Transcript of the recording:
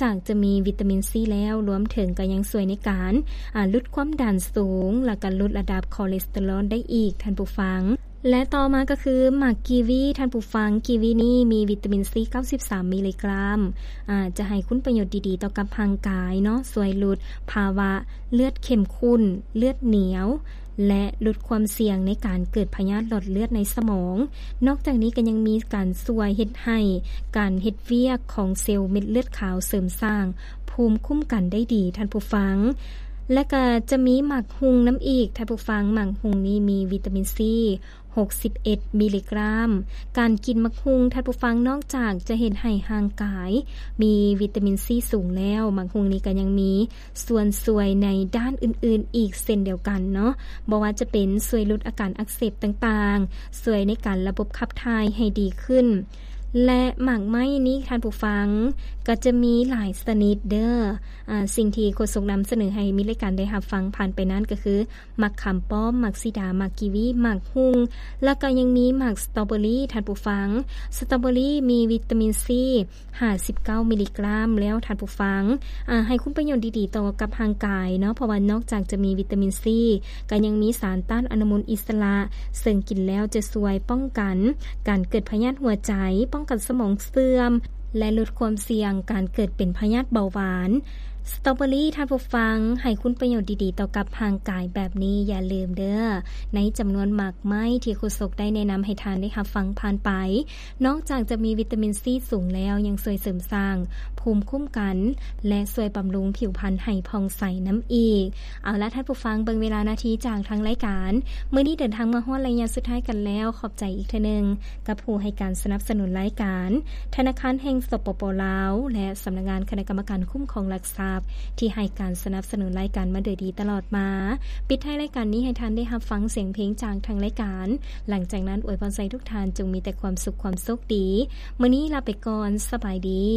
ຈາກຈະມີວິຕາມິນຊີແລ້ວ ລວມເຖິງກໍຍັງຊ່ວຍໃນການ ອາ ຫຼຸດຄວາມດັນສູງ ແລ້ວກໍຫຼຸດລະດັບຄໍເລສເຕີຣອນໄດ້ອີກ ທ່ານຜູ້ຟັງ. ແລະ ຕໍ່ມາກໍຄືໝາກກີວີ ທ່ານຜູ້ຟັງ, ກີວີນີ້ມີວິຕາມິນຊີ ເກົ້າສິບສາມ ມິລລີກຣາມ ອາ ຈະໃຫ້ຄຸນປະໂຫຍດດີໆຕໍ່ກັບຮ່າງກາຍເນາະ, ຊ່ວຍຫຼຸດພາວະເລືອດເຂັ້ມຂຸ້ນ, ເລືອດໜຽວ ແລະ ຫຼຸດຄວາມສ່ຽງໃນການເກີດພະຍາດຫຼອດເລືອດໃນສະໝອງ. ນອກຈາກນີ້ກໍຍັງມີການຊ່ວຍເຮັດໃຫ້ການເຮັດວຽກຂອງເຊວເມັດເລືອດຂາວເສີມສ້າງພູມຄຸ້ມກັນໄດ້ດີ ທ່ານຜູ້ຟັງ. ແລະ ກໍຈະມີໝາກຮຸ່ງນຳອີກ ທ່ານຜູ້ຟັງ, ໝາກຮຸ່ງນີ້ມີວິຕາມິນຊີ ຫົກສິບເອັດ ມິລລີກຣາມ. ການກິນໝາກຮຸ່ງ ທ່ານຜູ້ຟັງ, ນອກຈາກຈະເຮັດໃຫ້ຮ່າງກາຍມີວິຕາມິນຊີສູງແລ້ວ, ໝາກຮຸ່ງນີ້ກໍຍັງມີ ສ່ວນຊ່ວຍໃນດ້ານອື່ນໆອີກເຊັ່ນດຽວກັນເນາະ, ບໍ່ວ່າຈະເປັນຊ່ວຍຫຼຸດອາການອັກເສບຕ່າງໆ, ຊ່ວຍໃນການລະບົບຂັບຖ່າຍໃຫ້ດີຂຶ້ນ ແລະ ໝາກໄມ້ນີ້ທ່ານຜູ້ຟັງ ກໍຈະມີຫຼາຍຊະນິດເດີ້. ອາ ສິ່ງທີ່ໂຄສົກນຳສະເໜີໃຫ້ມິດລາຍການໄດ້ຮັບຟັງຜ່ານໄປນັ້ນກໍຄື ໝາກຂາມປ້ອມ, ໝາກສີດາ, ໝາກກີວີ, ໝາກຮຸ່ງ ແລ້ວກໍຍັງມີໝາກສະຕໍເບີຣີ ທ່ານຜູ້ຟັງ. ສະຕໍເບີຣີມີວິຕາມິນຊີ ຫ້າສິບເກົ້າ ມິລລີກຣາມແລ້ວ ທ່ານຜູ້ຟັງ, ອາ ໃຫ້ຄຸນປະໂຫຍດດີໆຕໍ່ກັບຮ່າງກາຍເນາະ, ເພາະວ່ານອກຈາກຈະມີວິຕາມິນຊີ ກໍຍັງມີສານຕ້ານອະນຸມູນອິດສະຫຼະ ເຊິ່ງກິນແລ້ວຈະຊ່ວຍປ້ອງກັນການເກີດພະຍາດຫົວໃຈ, ປ້ອງກັນສະໝອງເສື່ອມ ແລະ ຫຼຸດຄວາມສ່ຽງການເກີດເປັນພະຍາດເບົາຫວານ. ສະຕໍເບີຣີ ທ່ານຜູ້ຟັງ, ໃຫ້ຄຸນປະໂຫຍດດີໆຕໍ່ກັບຮ່າງກາຍແບບນີ້, ຢ່າລືມເດີ້, ໃນຈຳນວນໝາກໄມ້ທີ່ໂຄສົກໄດ້ແນະນຳໃຫ້ທ່ານໄດ້ຮັບຟັງຜ່ານໄປ, ນອກຈາກຈະມີວິຕາມິນຊີສູງແລ້ວ, ຍັງຊ່ວຍເສີມສ້າງພູມຄຸ້ມກັນ ແລະ ຊ່ວຍບຳລຸງຜິວພັນໃຫ້ຜ່ອງໃສນຳອີກ. ເອົາລະ ທ່ານຜູ້ຟັງ, ເບິ່ງເວລານາທີຈາກທາງລາຍການ, ມື້ນີ້ເດີນທາງມາຮອດໄລຍະສຸດທ້າຍກັນແລ້ວ. ຂອບໃຈອີກເທື່ອໜຶ່ງ ກັບຜູ້ໃຫ້ການສະໜັບສະໜູນລາຍການ ທະນາຄານແຫ່ງ ສປປ ລາວ ແລະ ສຳນັກງານຄະນະກຳມະການຄຸ້ມຄອງຫຼັກຊັບ ທີ່ໃຫ້ການສະໜັບສະໜູນລາຍການມາໂດຍດີຕະຫຼອດມາ. ປິດທ້າຍລາຍການນີ້ໃຫ້ທ່ານໄດ້ຮັບຟັງສຽງເພງຈາກທາງລາຍການ. ຫຼັງຈາກນັ້ນ ອວຍພອນໃສ່ທຸກທ່ານຈົ່ງມີແຕ່ຄວາມສຸກຄວາມໂຊກດີ. ມື້ນີ້ລາໄປກ່ອນ. ສະບາຍດີ.